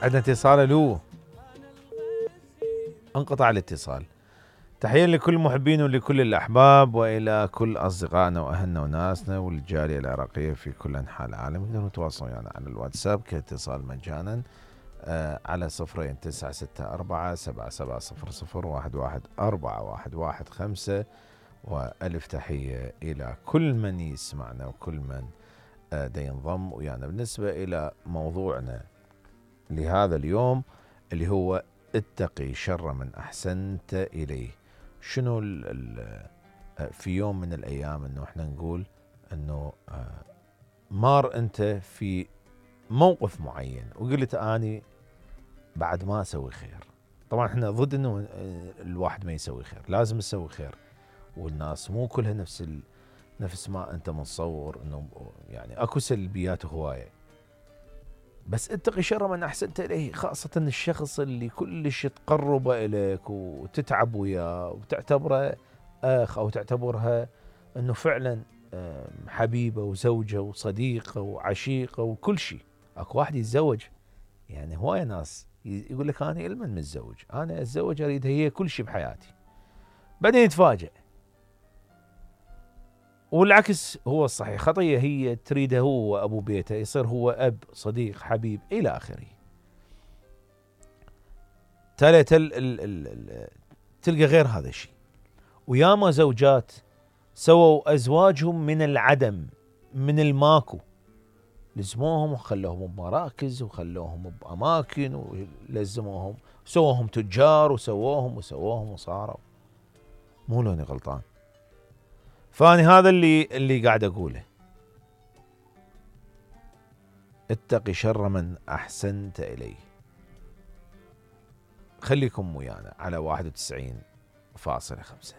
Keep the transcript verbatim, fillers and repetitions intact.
عندنا اتصال. الو، انقطع الاتصال. تحية لكل محبين ولكل الأحباب وإلى كل أصدقائنا وأهلنا وناسنا والجالية العراقية في كل أنحاء العالم. يقدرون يتواصلون يعني على الواتساب كاتصال مجانا آه على صفرين تسعة ستة أربعة سبعة سبعة صفر صفر واحد واحد أربعة واحد واحد خمسة. وألف تحية إلى كل من يسمعنا وكل من آه دا ينضم ويانا. بالنسبة إلى موضوعنا لهذا اليوم اللي هو اتقي شر من أحسنت إليه. شنو ال ال في يوم من الأيام إنه إحنا نقول إنه مار أنت في موقف معين وقلت أني بعد ما أسوي خير. طبعا إحنا ضد إنه الواحد ما يسوي خير، لازم يسوي خير، والناس مو كلها نفس ال نفس ما أنت متصور، إنه يعني أكو سلبيات هواية. بس اتقي شر من أحسنت إليه، خاصة الشخص اللي كلش تقرب إليك وتتعب وياه وتعتبره أخ أو تعتبرها أنه فعلا حبيبة وزوجة وصديقة وعشيقة وكل شيء. أكو واحد يتزوج، يعني هواية ناس يقول لك أنا إلمن متزوج، أنا أتزوج أريد هي كل شيء بحياتي، بعدين يتفاجأ. والعكس هو الصحيح، خطية هي تريده هو أبو بيته، يصير هو أب صديق حبيب إلى آخره. تل تل ال ال ال تلقى غير هذا الشيء. وياما زوجات سووا أزواجهم من العدم، من الماكو، لزموهم وخلوهم بمراكز وخلوهم بأماكن ولزموهم، سووهم تجار وسووهم وسووهم وصاروا. مو لوني غلطان؟ فاني هذا اللي اللي قاعد اقوله، اتقي شر من احسنت اليه. خليكم ويانا على واحد وتسعين فاصلة خمسة.